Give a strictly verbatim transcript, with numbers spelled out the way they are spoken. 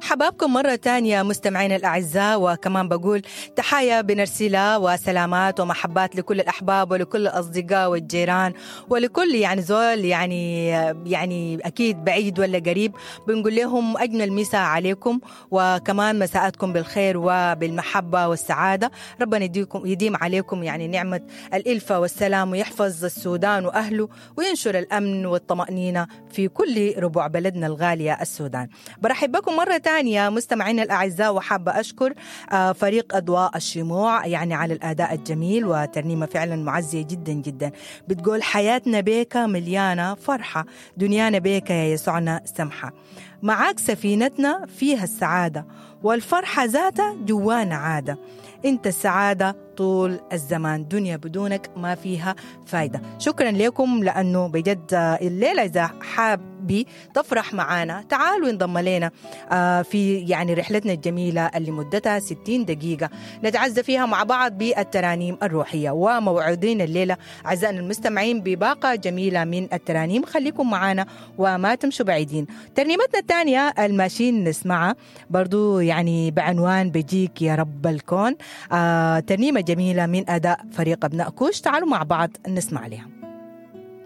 حبابكم مرة تانية مستمعينا الأعزاء، وكمان بقول تحايا بنرسلها وسلامات ومحبات لكل الأحباب ولكل الأصدقاء والجيران ولكل يعني زول يعني يعني أكيد بعيد ولا قريب، بنقول لهم أجمل مساء عليكم، وكمان مساءاتكم بالخير وبالمحبة والسعادة. ربنا يديكم يديم عليكم يعني نعمة الإلفة والسلام، ويحفظ السودان وأهله، وينشر الأمن والطمأنينة في كل ربوع بلدنا الغالية السودان. برحب بكم مرة تانية مستمعينا الأعزاء، وحابة أشكر فريق أضواء الشموع يعني على الأداء الجميل وترنيمة فعلا معزية جدا جدا، بتقول حياتنا بيك مليانة فرحة، دنيانا بيك يا يسوعنا سمحة، معاك سفينتنا فيها السعادة والفرحة ذاتها جوانا عادة، انت السعادة طول الزمان، دنيا بدونك ما فيها فايدة. شكرا لكم، لأنه بجد الليلة إذا حابي تفرح معانا تعالوا انضم لنا في يعني رحلتنا الجميلة اللي مدتها ستين دقيقة نتعزى فيها مع بعض بالترانيم الروحية. وموعدين الليلة أعزائنا المستمعين بباقة جميلة من الترانيم، خليكم معانا وما تمشوا بعيدين. ترنيمتنا الثانية الماشيين نسمعها برضو يعني بعنوان بجيك يا رب الكون، آه ترنيمة جميلة من أداء فريق أبناء كوش، تعالوا مع بعض نسمع لها.